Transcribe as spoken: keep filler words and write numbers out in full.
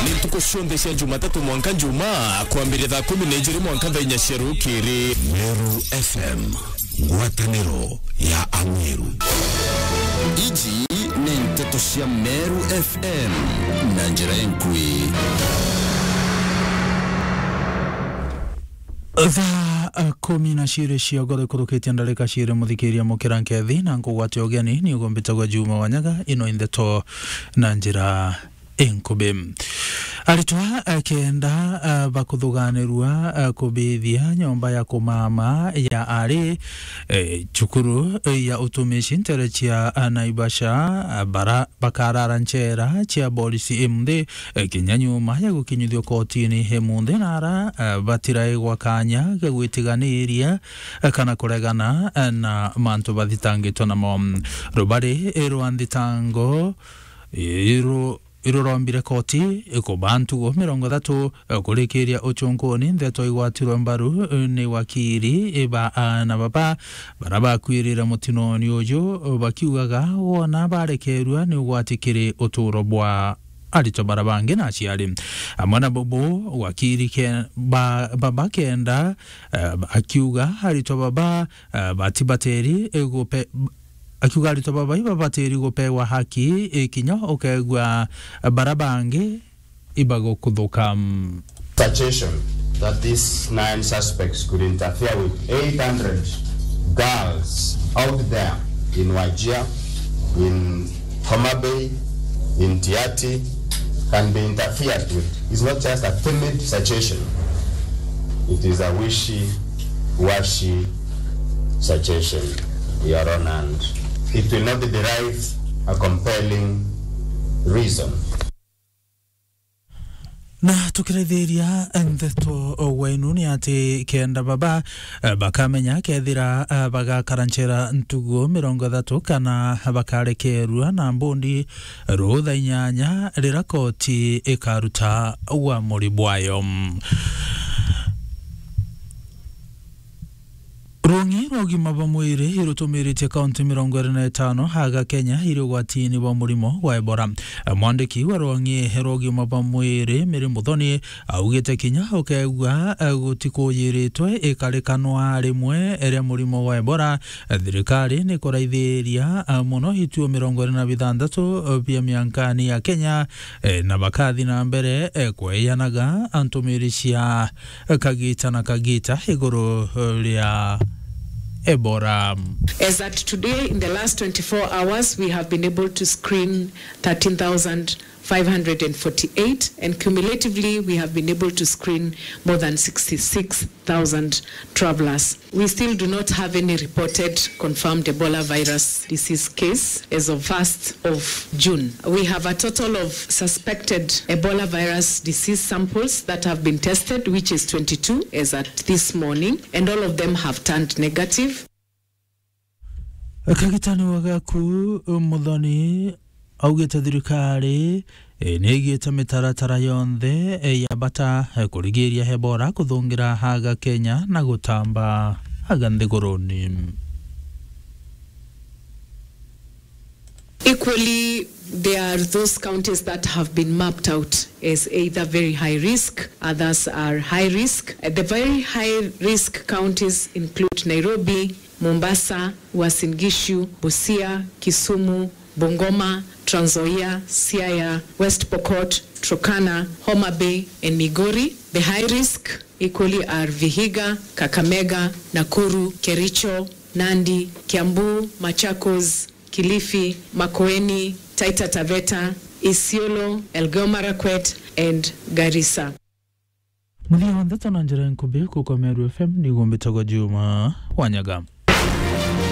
Ni ntuku cionthe cia Jumatatu mwanka Njumaa, kwambiria thaa kumi na ijiri mwanka thaa inya cia rukiri. Meru F M, ngwataniro ya Ameru. Iji ni nteto cia Meru F M na njira enkui. Thaa, eh, kumi na ciiri cia ngoro ikurukitie ndarika ciiri, muthikiria mukira nkethi na nkugwate ugeni, ni ugumbitagwa Juma Wanyaga, ino i ndeto na njira inkubi. Aritwa, eh, kenda, eh, bakuthuganirua, eh, kubithia nyomba ya kumama ya ari, eh, cukuru, eh, ya utumishi ntere cia, eh, Naivasha, eh, bara-, bakarara nchera cia borisi imunthi, eh, kinya nyuma ya gukinyithio kotini imunthi, na ara, eh, batiraigwa kanya ga gwitiganiria, eh, kana kuregana, eh, na mantu bathitangitwe namo. Rubari, eh, rwa nthitango, eh, ru-, irurombire koti ikuba ntugu mirongo ithatu kurikiria uchunkuni ndeto igwatirwe mbaru ni wakiri ba aana baba bara bakwirire mutinoni uju, bakiugaga wona barekerua ni ugwati kiri uturo bwa aritwa bara bangi na aciari. Amwe na bubu, wakiri ke-, ba-, baba kenda, eh, akiuga aritwa baba, eh, batibateri, eh, gupe-, akiuga aritwa baba ibabatiri gupewa haki, eh, kinya ukegua, eh, bara bangi ibagukuthuka. Suggestion that these nine suspects could interfere with eight hundred girls out there in Wajir, in Homa Bay, in Tiaty, can be interfered with is not just a timid suggestion. It is a wishy-washy suggestion, Your Honor, and it will not derive a compelling reason. Na tukirithiria ndeto wenu ni ati kenda baba, eh, bakamenya kethira, eh, bagakara nchera ntugu mirongo ithatu kana bakarekerua na mbundi rutha inyanya rira koti ikaruta uamuri bwayo. Rwang'i rwa ugima bwa mwiri irutumiritie kaunti mirongo iri na itano aga Kenya iri ugwatini bwa murimo wa Ebola. Mwandiki wa rwang'i rwa ugima bwa mwiri, Mary Muthoni, augite kinya ukegua, eh, gutikuyiritwe ikarikanwa rimwe ria murimo wa Ebola, eh, thirikari ni kuraithiria, eh, muno ituo mirongo iri na bithanthatu, eh, bia miankani ya Kenya, eh, na bakathi na mbere, eh, kweyanaga ntumiri cia kagita na kagita iguru ria Ebola. As at today, in the last twenty-four hours, we have been able to screen thirteen thousand five hundred and forty-eight, and cumulatively, we have been able to screen more than sixty-six thousand travelers. We still do not have any reported confirmed Ebola virus disease case as of first of June. We have a total of suspected Ebola virus disease samples that have been tested, which is twenty-two as at this morning, and all of them have turned negative. Kagitani wa Gaku, Muthoni, augite thirikari, eh, ni igite mitaratara yonthe, eh, ya bata, eh, kurigiria Ebola kuthungira haga Kenya na gutamba haga nthiguruni. Equally, there are those counties that have been mapped out as either very high risk, others are high risk. Uh, the very high risk counties include Nairobi, Mombasa, Uasin Gishu, Busia, Kisumu, Bungoma, Trans Nzoia, Siaya, West Pokot, Turkana, Homa Bay, and Migori. The high risk equally are Vihiga, Kakamega, Nakuru, Kericho, Nandi, Kiambu, Machakos, Kilifi, Makueni, Taita Taveta, Isiolo, Elgeyo Marakwet, and Garissa. Muthia wa ndeto na njira nkubi kuko Meru F M ni gumbitagwa Juma Wanyaga.